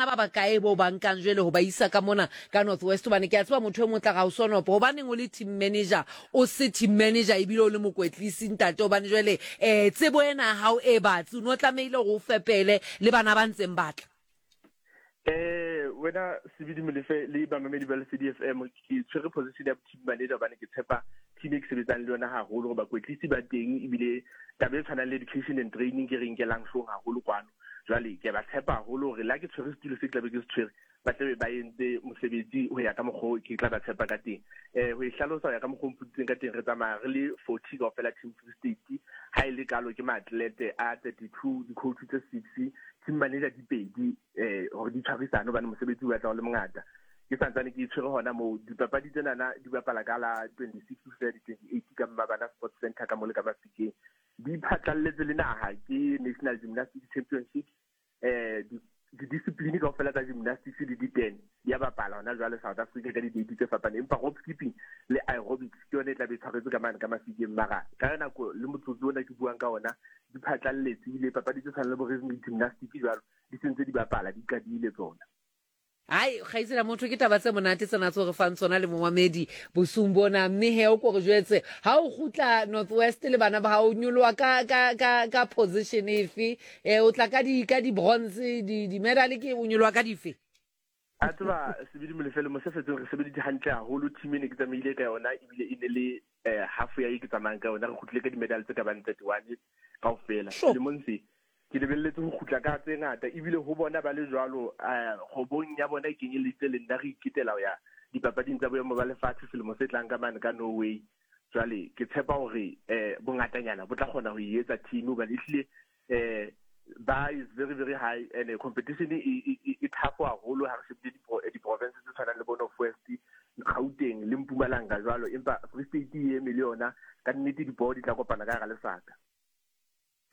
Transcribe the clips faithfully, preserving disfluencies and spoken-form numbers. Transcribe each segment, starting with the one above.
bana ba bakae bo ba nkang jwale ho ba isa ka mona ka North West? Hobane ke a tseba motho e mong o tla re ha o sonopo, hobaneng o le team manager, o se team manager ebile o le mokwetlisi ntate? Hobane jwale um tsebo ena ya hao e batsi, o ne o tlamehile hore o fepele le bana ba ntseng ba tla. Eh wena Sebidi Molefe le bamamedi ba Lesedi F M, ke tshwere position ya team manager hobane ke tshepa team e ke sebetsang le yona haholo, hore bakwetlisi ba teng, ebile taba e tshwanang le education and training ke re nkelang hloohong haholo kwano. Jwale ke ba tshepa haholo hore la ke tshwere setulo se ke tlabe ke se tshwere, ba tlabe ba entse mosebetsi ho ya ka mokgwa o ke tla ba tshepa ka teng. Eh ho e hlalosa ho ya ka mokgwa o mputsitseng ka teng, re tsamaya re le forty kaofela team Free State. Ha e le kalo ke maatlete a thirty-two, di-coach tse six, team manager di pedi, eh hore di tshwarisane hobane mosebetsi o batla o le mongata. Ke santsane ke tshwere hona moo. Dipapadi tsenana di bapala ka la twenty-six ho fihlela di twenty-eight ka Mmabana Sports Center ka mo le ka Mafikeng. Di phatlalletse le naha, ke National Gymnastics Championships. Eh di-discipline kaofela tsa gymnastics le di-ten di a bapala hona jwale South Africa ka di-date tse fapaneng, empa rope skipping le aerobics ke yona e tla be e tshwaretswe ka mane ka Mafikeng. Mara ka nako le motsotso ona ke buang ka ona, di phatlalletse, ebile papadi tse tshwanang le bo rhythmic gymnastics jwalo di sentse di bapala, di qadile tsona. Ai, kgaitsedi motho, ke taba tse monate tsena tseo re fang tsona le momamedi bosiung bona. Mme he o ko re jwetse, ha o kgutla North West le bana ba hao, o nyoloha ka, ka, ka, ka position efe? Eh, o tla ka di, ka di bronze, di, di medal, ke o nyoloha ka dife? A tseba Sebidi Molefe le mosefetseng re sebeditse hantle haholo. Team e ne ke tsamaile ka yona ebile e ne le eh half ya e ke tsamayang ka yona, re kgutlile ka di-medal tse ka bang thirty-one kaofela. Sure. Selemong se ke lebelletse ho kgutla ka tse ngata, ebile ho bona ba le jwalo, eh, kgobong ya bona e kenyeleditse le nna, re iketela ho ya dipapading tsa boemo ba lefatshe selemo se tlang ka mane ka Norway. Jwale ke tshepa hore, eh, bongatanyana bo tla kgona ho e etsa team, hobane ehlile, eh, bar is very very high and competition e, e, e, e tough haholo ha re shebile di-pro-, di-province tse tshwanang le bo North West, Gauteng le Mpumalanga jwalo, empa Free State e eme le yona ka nnete, dipoho di tla kopana ka hara lesaka.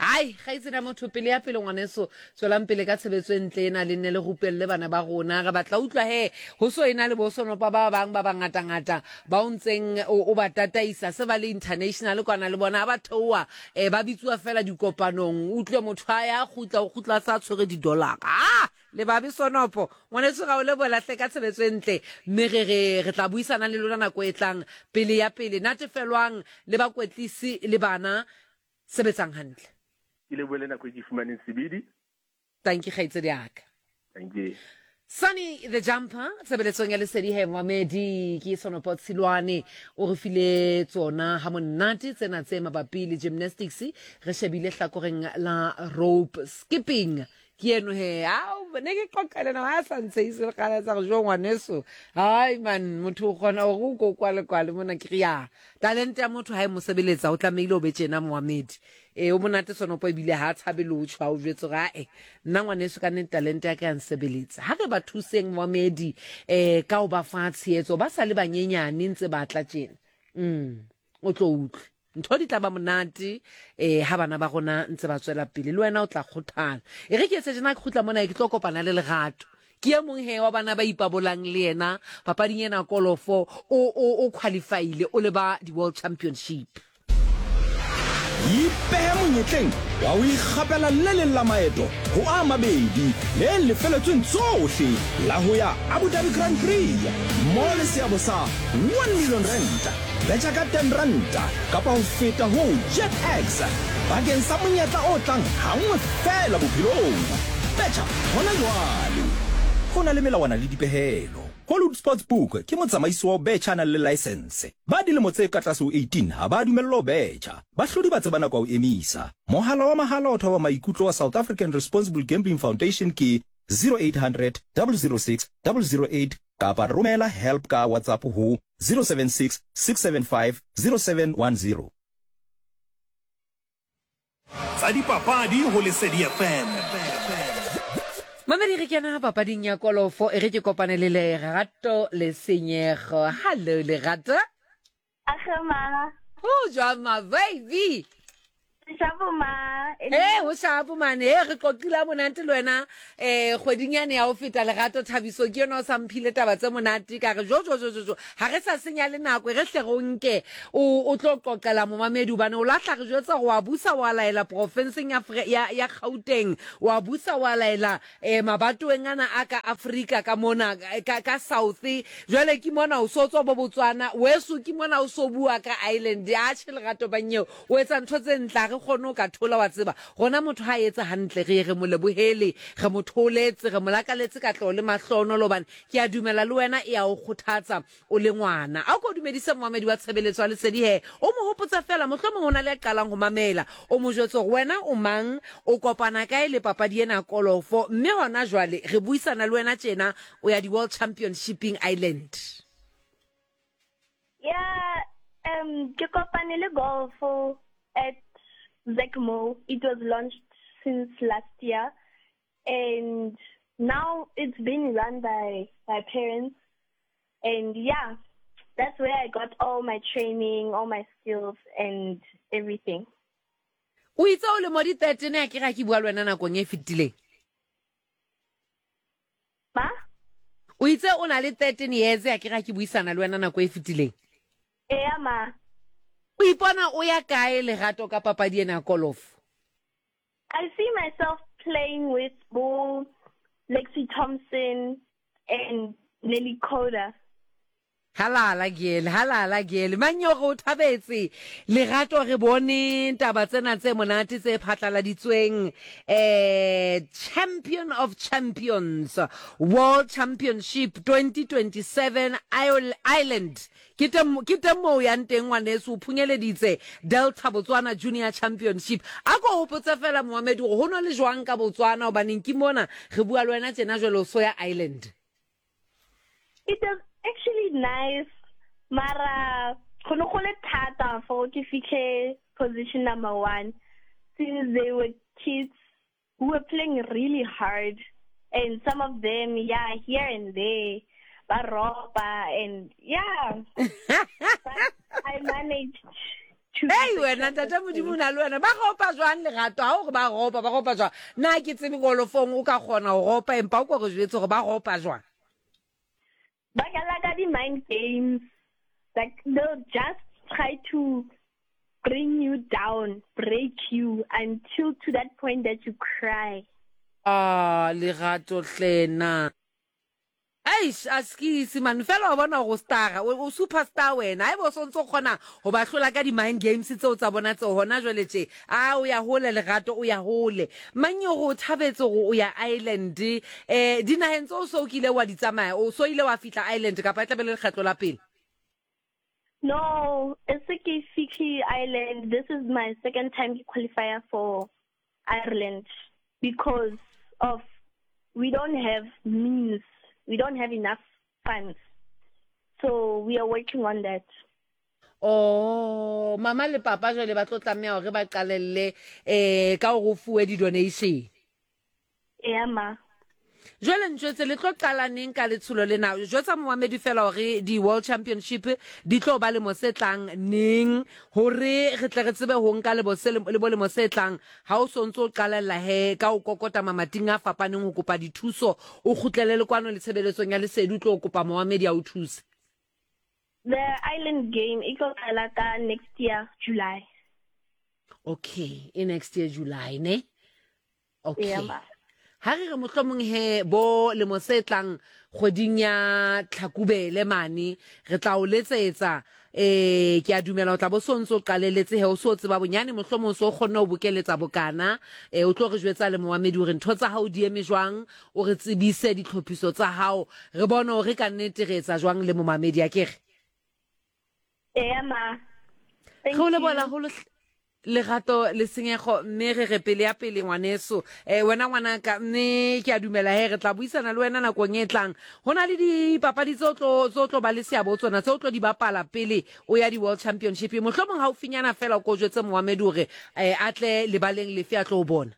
Ai, kgaitsedi ya motho, pele ya pele ngwaneso, tswelang pele ka tshebetso e ntle ena, le nne le rupelle bana ba rona. Re batla utlwa he ho so ena le bo sonopa ba bang ba bangatangata ba o ntseng o, o ba tataisa, se ba le international kwana le bona, ha ba theoha, eh, ba bitsuwa fela dikopanong. Utlwe motho a ya kgutla, o kgutla a sa tshwere di-dollar. Ah, le babe sonopo ngwaneso, ga o lebohela hle ka tshebetso e ntle, mme re, re, re tla buisana le lona nako e tlang. Pele ya pele, natefelwang le bakwetlisi le bana, sebetsang hantle. Ke lebohele nako e ke fumaneng Sebidi. Thank you, kgaitsedi ya ka. Thank you. Sunny the Jumper, tshebeletsong ya Lesedi he Mohamedi, ke Sonopo Tshilwane o re file tsona ha monate tsena tse mabapi le gymnastics. Re shebile hlakoreng la rope skipping. Ke eno he, ao, ne ke qoqa le ena, ha sa ntshehise le kgale tsa re, jo ngwaneso. Hai man, motho o kgona hore o ko kwale kwale mona, ke re ya. Talente ya motho ha e mo sebeletsa, o tlamehile o be tjena Mohamedi. E, o monate Sonopo ebile ha a tshabe le ho tjho, ha o jwetse hore, ae, nna ngwaneso ka nnete talente ya ka ya nsebeletsa. Ha re ba thuseng Mohamedi, eh, ka ho ba fa tshehetso, ba sa le banyenyane ntse ba tla tjena. Mm, o tlo utlwe. Ntho di tla ba monate, eh, ha bana ba rona ntse ba tswela pele, le wena o tla kgothala. E re ke etse tjena, ke kgutla mona, ke tlo kopana le Lerato. Ke e mong he wa bana ba ipabolang le yena papading ena kolofo, o, o, o qualifyile, o le ba di-World Championship. Ipehe monyetleng wa ho ikgapela le leng la maeto ho a mabedi le lefeletsweng tsohle la ho ya Abu Dhabi Grand Prix mo le seabo sa one million rand. Betjha ka ten ranta kapa ho feta ho JetX bakeng sa monyetla o tlang hanngwe feela bophelong. Betjha hona jwale. Ho na le melawana le dipehelo. Hollywood Sportsbook ke motsamaisi wa ho betjha a nang le license. Ba dilemo tse ka tlase ho eighteen ha ba dumellwa ho betjha. Bahlodi ba tseba nako ya ho emisa. Mohala wa mahala o thoba maikutlo wa South African Responsible Gambling Foundation ke zero eight hundred, double zero six, double zero eight kapa romela help ka WhatsApp ho zero seven six, six seven five, zero seven one zero. Tsa dipapadi ho Lesedi F M. Mamedi, re kena papading ya kolofo, e re ke kopane le Lerato Lesenyego. Hello Lerato. Age ma. O jwang ma baby? Shapo ma. Ee, ho shapo mane. E re qoqile ha monate le wena um kgweding yane ya ho feta. Lerato Thabiso ke yona o sa mphile taba tse monate, ka re jo jo jo jo jo, ha re sa senya le nako, e re hle re o nke o o tlo qoqela momamedi, hobane o lahla re jwetsa gore wa busa wa laela porofenseng ya Fre- ya ya Gauteng, wa busa wa laela um mabatoweng ana a ka Afrika ka mona ka ka South. Jwale ke mona o so tswa bo Botswana weso, ke mona o so bua ka Ireland. Atjhe, Lerato Banyeo, o etsa ntho tse ntle, ha re kgone ho ka thola. Wa tseba rona motho ha etsa hantle re ye re mo lebohele, re mo tholetse, re mo lakaletse katleho le mahlohonolo, hobane ke a dumela le wena e a o kgothatsa o le ngwana. A o ko dumedise momamedi wa tshebeletso ya Lesedi he, o mo hopotse fela, mohlomong o na le a qalang ho mamela, o mo jwetse hore wena o mang, o kopana kae le papadi ena ya kolofo, mme hona jwale re buisana le wena tjena o ya di-World Championshiping Ireland. Yeah, um, ke kopane le golf at Zekmo. It was launched since last year, and now it's being run by my parents. And yeah, that's where I got all my training, all my skills, and everything. O itse o lemo di thirteen a ke ga ke bua le wena nakong e fetileng? Ma? O itse o na le thirteen years a ke ga ke buisana le wena nako e fetileng? Yeah, ma. O ipona o ya kae, Lerato, ka papadi ena ya kolofo? I see myself playing with Bo, Lexi Thompson, and Nelly Korda. Halala gele, halala gele manyoro, o thabetse Lerato. Re bone taba tsena tse monate tse phatlaladitsweng, eh Champion of Champions World Championship twenty twenty-seven Ireland. Ke teng, ke teng moo o yang teng, ngwaneso. O phunyeleditse Delta Botswana Junior Championship. A ko hopotse fela momamedi gore ho no le jwang ka Botswana, hobaneng ke mona re bua le wena tjena jwale o so ya Ireland. It was actually nice. Mara, go ne go le thata for ke fitlhe position number one, since they were kids who were playing really hard, and some of them, yeah, here and there, ba ropa, and yeah, but I managed to be Ei wena, ntate Modimo o na le wena. Ba ropa jwang, Lerato? Ha o re ba ropa, ba ropa jwang? Nna ke tsebe golofong o ka kgona ho ropa, empa o ko re jwetse hore ba ropa jwang. Ba dlala ka di-mind games. Like, they'll just try to bring you down, break you until to that point that you cry. Ah, Lerato hlena. Eish, askisi man, fela wa bona gore o star, o o superstar wena. Haeba o sontso o kgona ho ba hlola ka di-mind games tseo tsa bona tseo hona jwale tje. A o ya hole, Lerato, o ya hole. Manyoro, o thabetse hore o ya Ireland. Eh dinaheng tseo so o kile wa di tsamaya, o so ile wa fihla Ireland kapa e tla be le lekgetlo la pele? No, it's ke fihle Ireland. This is my second time to qualify for Ireland because of we don't have means, we don't have enough funds. So we are working on that. Oh, mama le papa jwale ba tlo tlameha hore ba qalelle eh ka hore o fuwe di-donation. Yeah, ma. Jwale ntjwetse, le tlo qala neng ka letsholo lena? Jwetsa momamedi fela hore di-World Championship di tlo ba lemo se tlang neng, hore re tle re tsebe ho nka lebo se le bo lemo se tlang ha o so ntso o qalella he ka o kokota mamating a fapaneng ho kopa dithuso, o kgutlele le kwano le tshebeletsong ya Lesedi, o tlo kopa momamedi a o thuse. The Ireland game e tlo qala ka next year July. Okay, e next year July ne? Okay. Yeah, ma. Ha re re mohlomong he bo lemo se tlang kgweding ya Tlhakubele mane re tla o letsetsa. eh ke a dumela o tla bo so ntso o qaleletse he, o so tseba bonyane, mohlomong so o kgonne ho bokeletsa bokana. eh o tlo re jwetsa le momamedi hore ntho tsa hao di eme jwang, o re tsebise ditlhophiso tsa hao, re bone hore ka nnete re etsa jwang le momamedi, a ke re? Yeah, ma. Thank Re o you. leboha haholo, Lerato Lesenyego, mme re re pele ya pele, ngwaneso, um wena ngwanaka, mme ke a dumela he re tla buisana le wena nakong e tlang. Ho na le dipapadi tse o tlo tse o tlo ba le seabo tsona, tse o tlo di bapala pele o ya di-World Championship. Mohlomong haufinyana fela o ko jwetse momamedi hore um a tle lebaleng lefe a tlo o bona.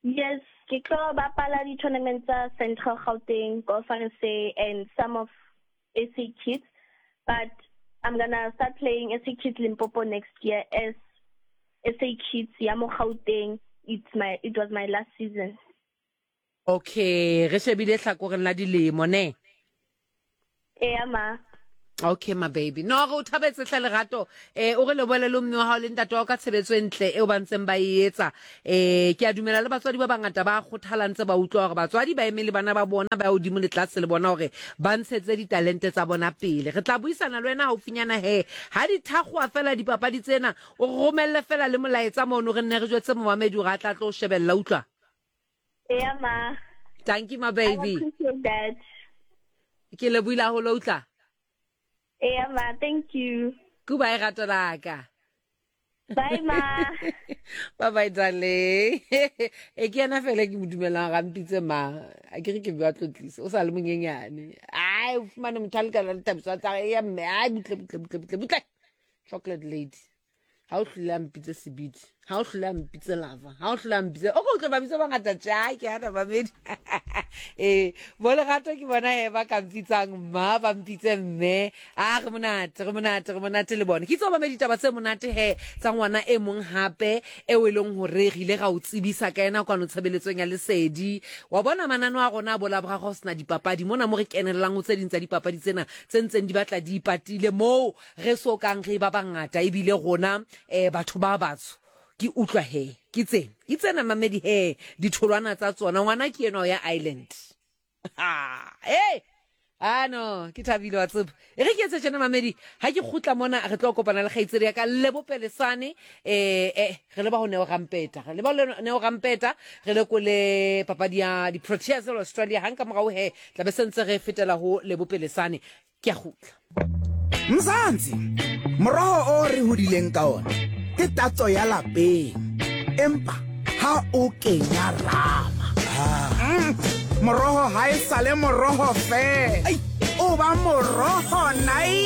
Yes, ke tlo bapala di-tournament tsa Central Gauteng, Golf R S A, and some of S A Kids. But I'm gonna start playing S A Kids Limpopo next year as S A Kids ya mo Gauteng. It's my it was my last season. Okay, re shebile hlakoreng la dilemo ne. Eya ma. Okay my baby. No re o thabetse hle lerato. Eh o re lebohele le mme wa hao le ntate wa hao ka tshebetso e ntle eo ba ntseng ba e etsa. Eh ke a dumela le batswadi ba bangata ba kgothala ntse ba utlwa hore batswadi ba eme le bana ba bona ba hodimo le tlase le bona hore ba ntshetse ditalente tsa bona pele. Re tla buisana le wena haufinyana he. Ha di thakgoa fela dipapadi tsena, o romelle fela le molaetsa mono re nne re jwetse momamedi hore a tla tlo shebella utlwa. Eya ma. Thank you my baby. I appreciate that. Ke lebohile haholo utlwa. Yeah, ma, thank you. Goodbye, rato la ka. Bye, ma. Bye bye, darling. E ke yena fela ke mo dumelang ga mpitse ma. A ke re ke bua tlotlisa. O sa le monyenyane. Ai, o fumane motho a lekana le Thabiso tsa ya mme. Ai, butle butle butle butle butle. Chocolate lady. Ha o hlole a mpitse sebidi. Ha o hlole a mpitse lava. Ha o hlole a mpitse. O ko utlwe ba bitsa bangata tja, ke hana mamedi. Eh, bo lerato ke bona he ba ka mpitsang mma, ba mpitse mme. A re monate, re monate, re monate le bona. Ke itse mamedi taba tse monate he tsa ngwana e mong hape eo e leng hore re ile ra o tsebisa ka yena kwano tshebeletsong ya Lesedi. Wa bona manano a rona a bo Laboraro ho sena dipapadi mona mo re kenellang ho tse ding tsa dipapadi tsena tse ntseng di batla di ipatile moo re so kang re ba bangata ebile rona eh batho ba batsho. Ke utlwa he ke tsena ke tsena mamedi he ditholwana tsa tsona ngwana ke ena ya Island. Ha eh ah no ke thabile wa tseba e re ke etse tjena mamedi ha ke kgutla mona re tlo kopana le kgaitsedi ya ka Lebo Pelesane eh eh re leba ho Neo Rampeta re leba ho Neo Rampeta re lekole papadi ya di Proteas le Australia hang ka morao he tla be sentse re fetela ho Lebo Pelesane ke a kgutla. Mzansi moroho o re hodileng ka ona ke tatso ya lapeng empa ha o kenya rama mm, moroho ha e sale moroho fela o ba moroho nai.